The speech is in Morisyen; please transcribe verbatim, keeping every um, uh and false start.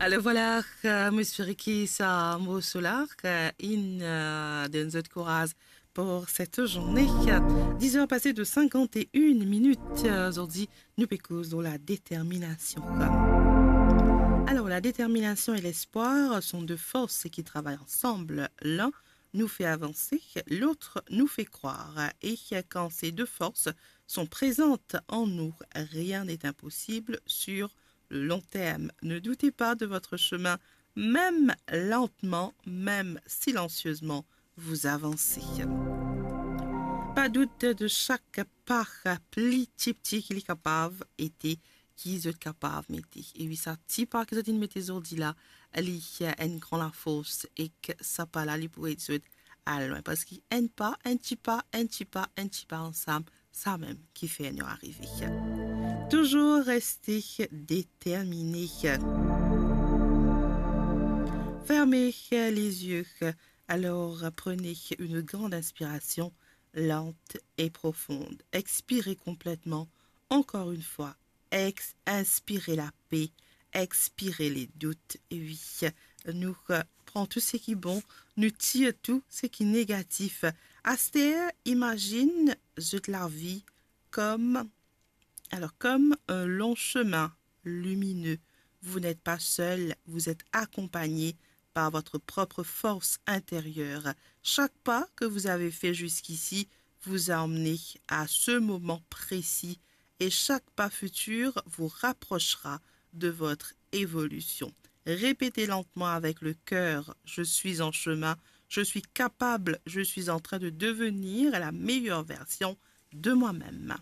Alors voilà, euh, mo espere ki sa morso la, euh, inn, euh, donn zot kouraz pour cette journée. Dix heures passées de cinquante et une minutes. Euh, zordi, nou pe koz lor la détermination. Alors, la détermination et l'espoir sont deux forces qui travaillent ensemble. L'un nous fait avancer, l'autre nous fait croire. Et quand ces deux forces sont présentes en nous, rien n'est impossible sur le long terme. Ne doutez pas de votre chemin, même lentement, même silencieusement, vous avancez. Pa dout de sak pa, pli ti pti ki li kapav ete, ki zot kapav mete. E wi, sa ti pa ki zot inn mete zordi la, li enn gran lafors, ek sa pa la, li pou ed zot al lwin. Parski enn pa, enn ti pa, enn ti pa, enn ti pa ansam, samem ki fer nou arive. Toujours rester déterminé. Fermez les yeux. Alors, prenez une grande inspiration lente et profonde. Expirez complètement. Encore une fois, ex-, inspirez la paix, expirez les doutes. E wi, nou, euh, pran tou seki bon, nou tir tou seki negatif. Aster, imazinn zot lavi kom, alors, comme un long chemin lumineux. Vous n'êtes pas seul, vous êtes accompagné par votre propre force intérieure. Chaque pas que vous avez fait jusqu'ici vous a emmené à ce moment précis et chaque pas futur vous rapprochera de votre évolution. Répétez lentement avec le cœur : « Je suis en chemin, je suis capable, je suis en train de devenir la meilleure version de moi-même. »